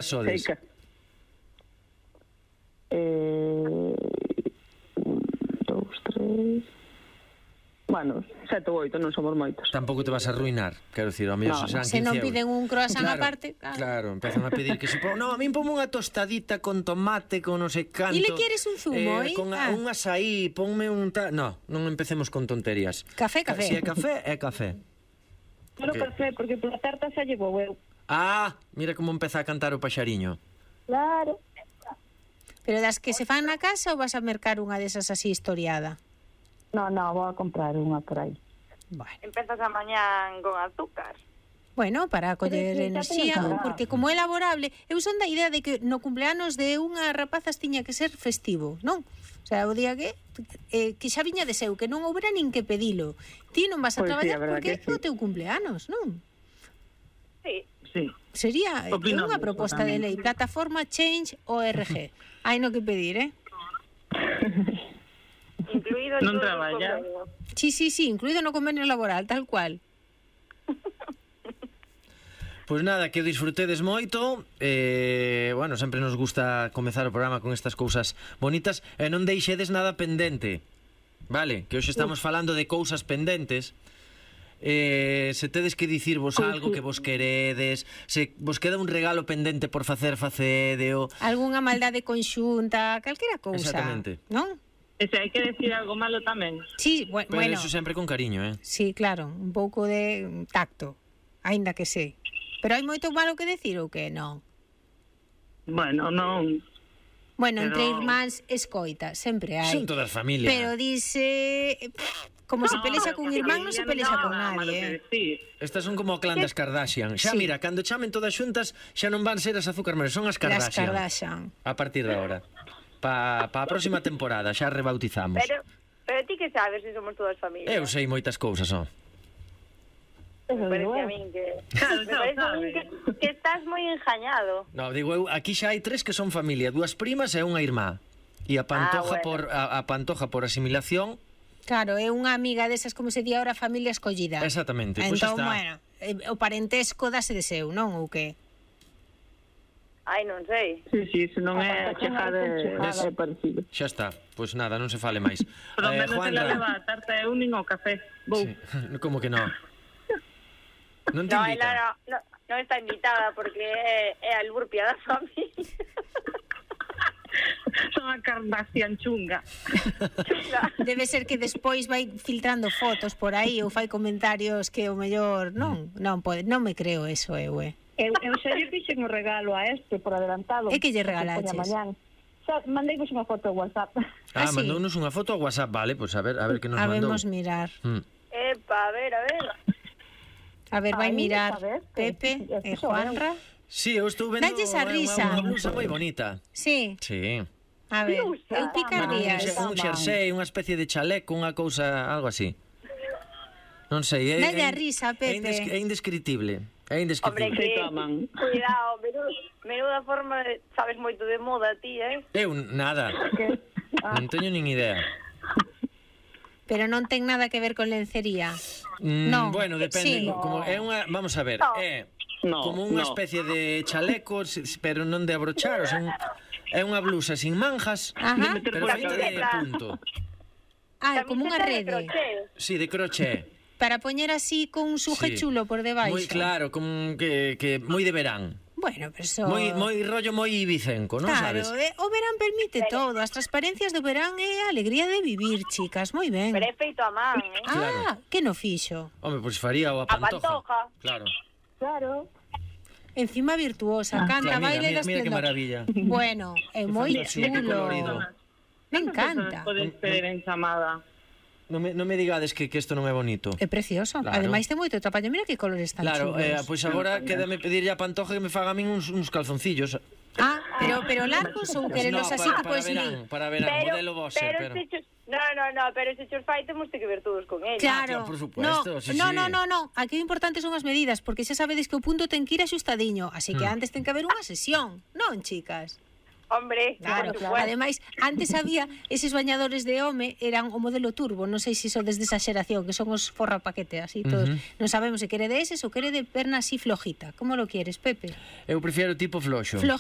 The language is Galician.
Sodes. Seica. 1, 2, 3... Bueno, 7 ou 8, non somos moitos. Tampouco te vas a arruinar, quero dicir, ao mellor No, serán 15 Se non euros. piden un croissant Claro, aparte, Claro, empezan a pedir que se no, a min ponme unha tostadita con tomate, con non sei canto. E le quieres un zumo, Con un açaí, ponme un No, non empecemos con tonterías. Café. Si é café, é café. Pero café, porque pola tarta xa llevo eu. Ah, mira como empeza a cantar o paxariño. Claro. Pero das que se fan na casa ou vas a mercar unha desas así historiada? No, vou a comprar unha por aí. Bueno. Empezas a mañán con azúcar. Bueno, para coller Pero enerxía, xa teño que porque como é laborable, eu son da idea de que no cumpleanos de unha rapazas tiña que ser festivo, non? O sea, o día que xa viña de seu, que non houbera nin que pedilo. Ti non vas a Pois sí, traballar a verdad porque é que sí. o teu cumpleanos, non? Sí. Sí. Sería Opino unha eso proposta de tamén. lei, plataforma Change.org. Hai no que pedir, Incluído en Non todos os traballa. convenios. Sí, incluído no convenio laboral, tal cual. Pois nada, que o disfrutedes moito. Bueno, sempre nos gusta comezar o programa con estas cousas bonitas. E non deixedes nada pendente. Vale, que hoxe estamos falando de cousas pendentes. Se tedes que dicirvos algo que vos queredes, se vos queda un regalo pendente por facedeo. Algúnha maldade conxunta, calquera cousa. Exactamente. Non? E se hai que decir algo malo tamén. Sí, Pero bueno. eso sempre con cariño, Sí, claro, un pouco de tacto, aínda que sei. Pero hai moito malo que decir ou que non? Bueno, non... Bueno, entre Pero- irmáns escoita, sempre hai. Son todas familia. Pero dice... Como se pelexa cun irmán, non se pelexa con nadie, Estas son como o clan das Kardashian. Xa Sí. mira, cando chamen todas xuntas, xa non van ser as azúcar moreno, son as Las Kardashian. Kardashian. A partir de agora. Pa a próxima temporada, xa rebautizamos. Pero ti que sabes se somos todas familias? Eu sei moitas cousas, ó. Me parece a min que... Claro, me parece a min que estás moi enjañado. No, digo eu, aquí xa hai 3 que son familia, 2 primas e unha irmá. E a Pantoja bueno. a Pantoja por asimilación. Claro, é unha amiga desas, como se di agora, familia escollida. Exactamente, pois Entón, está. bueno, o parentesco dase de seu, non? Ou que? Ai, non sei. Sí, se non é chegada é parecido. Xa está. Pois nada, non se fale máis. Pero menos se la Juanra. leva a tarta e un nin o café. Vou. Sí. Como que non? Non te No, invita? ela non está invitada porque é a Lurpia da familia. Son a Kardashian chunga. Debe ser que despois vai filtrando fotos por aí ou fai comentarios que o mellor non pode, non me creo eso, eu. Eu xa lle fixen o regalo a este por adelantado. E que lle regalaches? Mandeivos unha foto ao WhatsApp. Ah, Ah, sí. mandounos unha foto ao WhatsApp, vale, pois a ver que nos mandou. Habemos mirar. Epa, a ver. A ver, vai Ai, mirar a ver, Pepe que- e Juanra. Sí, eu estou vendo Dalles a risa. unha blusa moi bonita. Sí, Sí. a ver, Blusa. eu Bueno, picardías. un xersei, unha especie de chaleco, unha cousa, algo así. Non sei, Dalle a risa, Pepe. É indescritible. É Hombre, indescritible. que... toman. Cuidado, menuda forma sabes moito de moda ti, Eu nada. Non teño nin idea. Pero non ten nada que ver con lencería. Non. Bueno, depende, Sí. como é unha, vamos a ver, No. é No, como unha no. especie de chaleco, pero non de abrochar, o sea, é unha blusa sin manjas, Ajá. pero por feita de punto. Ah, como unha Camiseta de rede. crochet. Sí, de crochet. Para poñer así con un suje Sí. chulo por debaixo. Moi claro, como que moi de verán. Bueno, pero eso... Moi rollo moi ibicenco, non Claro, sabes? o verán permite todo. As transparencias do verán é a alegría de vivir, chicas. Moi ben. Pero é feito a man, Ah, que no fixo. Home, pois faría o a Pantoja. Pantoja. Claro. Claro. Encima virtuosa, canta, Claro, baile mira das que esplendor. maravilla. Bueno, é moi fantasía, que chulo. colorido. Me encanta. Podes ter en chamada. Non me digades que isto non é bonito. É precioso. Claro. Ademais ten moito traballo. Mira que colores tan Claro, chulos. pois agora quédame pedirlle a Pantoja que me faga a min uns calzoncillos. Ah, pero largos ou querelos No, así que para pois verán, modelo Boxer, pero... pero se chos fai temos que ver todos con ele. Claro, por supuesto, sí, no, sí. no, aquí o importante son as medidas, porque xa sabedes que o punto ten que ir axustadiño, así que antes ten que haber unha sesión, non, chicas? Hombre, Claro, por supuesto. ademais, antes había eses bañadores de home, eran o modelo turbo, non sei se son desde esa xeración, que son os forra paquete, así todos. Non sabemos se quere de eses ou quere de perna así flojita. Como lo quieres, Pepe? Eu prefiero tipo floxo.